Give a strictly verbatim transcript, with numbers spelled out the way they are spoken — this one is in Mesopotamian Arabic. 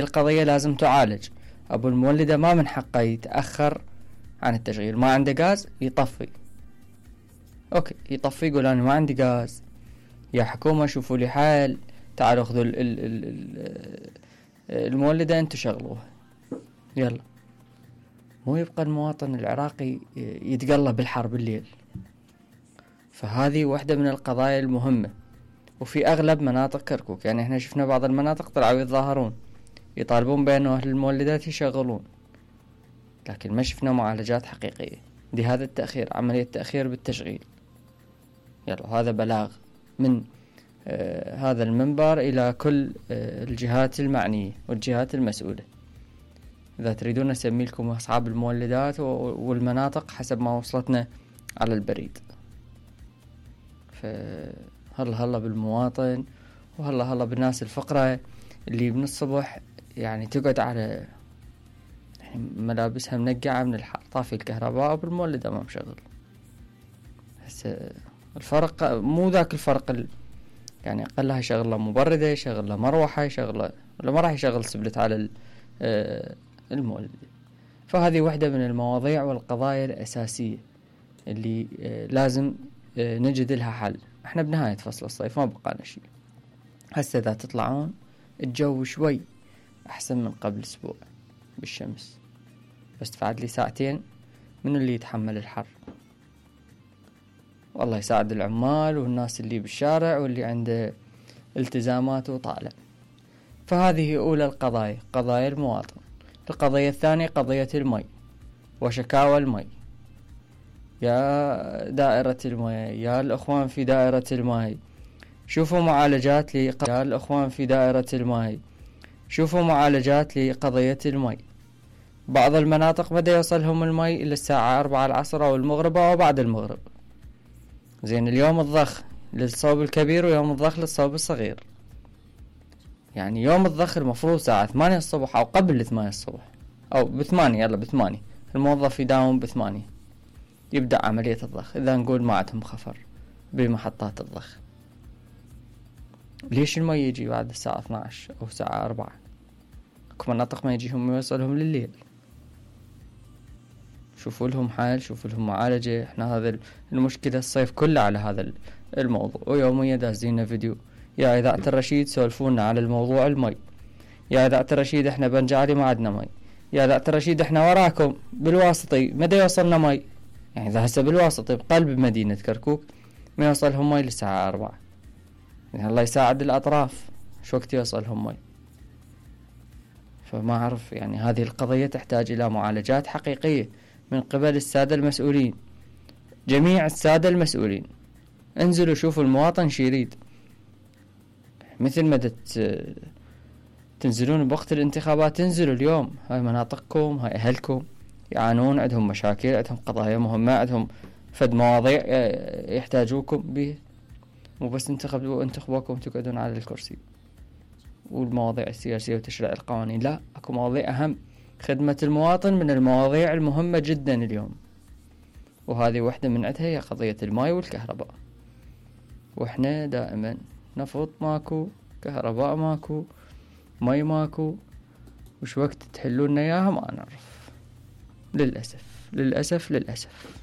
القضية لازم تعالج. ابو المولدة ما من حقه يتأخر عن التشغيل، ما عنده غاز يطفي، اوكي يطفي، يقول انا ما عندي غاز، يا حكومة شوفوا لي حل، تعالوا خذوا ال ال ال المولدة انتو شغلوها يلا. مو يبقى المواطن العراقي يتقلب بالحر بالليل. فهذه واحدة من القضايا المهمة، وفي اغلب مناطق كركوك. يعني احنا شفنا بعض المناطق طلعوا يتظاهرون يطالبون بأنه أهل المولدات يشغلون، لكن ما شفنا معالجات حقيقية. دي هذا التأخير، عملية تأخير بالتشغيل. يلا هذا بلاغ من آه هذا المنبر إلى كل آه الجهات المعنية والجهات المسؤولة. إذا تريدون نسمي لكم أصحاب المولدات والمناطق حسب ما وصلتنا على البريد. فهلا هلا بالمواطن، وهلا هلا بالناس الفقراء اللي من الصبح يعني تقعد على يعني ملابسها منقعة من الحر، طافي الكهرباء بالمولد ما مشغل. هسه الفرق مو ذاك الفرق ال... يعني أقلها يشغل له مبردة، يشغل له مروحة، يشغل له، ولا ما راح يشغل سبلت على المولد. فهذه واحدة من المواضيع والقضايا الأساسية اللي لازم نجد لها حل. احنا بنهاية فصل الصيف ما بقى شيء. هسه إذا تطلعون الجو شوي أحسن من قبل أسبوع بالشمس، بس تفعد لي ساعتين من اللي يتحمل الحر. والله يساعد العمال والناس اللي بالشارع واللي عنده التزامات وطالع. فهذه أولى القضايا، قضايا المواطن. القضية الثانية قضية المي وشكاوى المي. يا دائرة المي، يا الأخوان في دائرة المي، شوفوا معالجات لي يا الأخوان في دائرة المي، شوفوا معالجات لقضية المي. بعض المناطق بدأ يوصلهم المي إلى الساعة أربعة العصر أو المغرب أو بعد المغرب. زين اليوم الضخ للصوب الكبير ويوم الضخ للصوب الصغير. يعني يوم الضخ المفروض ساعة ثمانية الصبح أو قبل ثمانية الصبح أو بثمانية، يلا بثمانية الموظف يداوم بثمانية يبدأ عملية الضخ. إذا نقول ما عندهم خفر بمحطات الضخ، ليش المي يجي بعد الساعة اثنى عشر أو الساعة أربعة؟ اكو مناطق ما يجيهم يوصلهم لليل. شوفوا لهم حل، شوفوا لهم معالجة. احنا هذا المشكلة الصيف كله على هذا الموضوع، ويوميا دازينا فيديو يا إذاعة الرشيد سولفونا على الموضوع المي، يا إذاعة الرشيد احنا بنجعلي ما عندنا مي، يا إذاعة الرشيد احنا وراكم بالواسطي مدى يوصلنا مي. يعني إذا هسه بالواسطي بقلب مدينة كركوك ما يوصلهم مي للساعة أربعة، يعني الله يساعد الأطراف شو وقت يوصلهم مي. فما أعرف، يعني هذه القضية تحتاج إلى معالجات حقيقية من قبل السادة المسؤولين، جميع السادة المسؤولين. انزلوا شوفوا المواطن شي يريد، مثل ما تنزلون بوقت الانتخابات تنزلوا اليوم. هاي مناطقكم، هاي أهلكم يعانون، عندهم مشاكل، عندهم قضايا مهمة، عندهم فد مواضيع يحتاجوكم به. مو بس انتخبوا انتخبوكم تقعدون على الكرسي والمواضيع السياسية وتشريع القوانين، لا، اكو مواضيع أهم. خدمة المواطن من المواضيع المهمة جدا اليوم، وهذه واحدة من عدها هي قضية الماء والكهرباء. واحنا دائما نفط ماكو، كهرباء ماكو، ماء ماكو، وش وقت تحلون اياها ما نعرف. للأسف للأسف للأسف.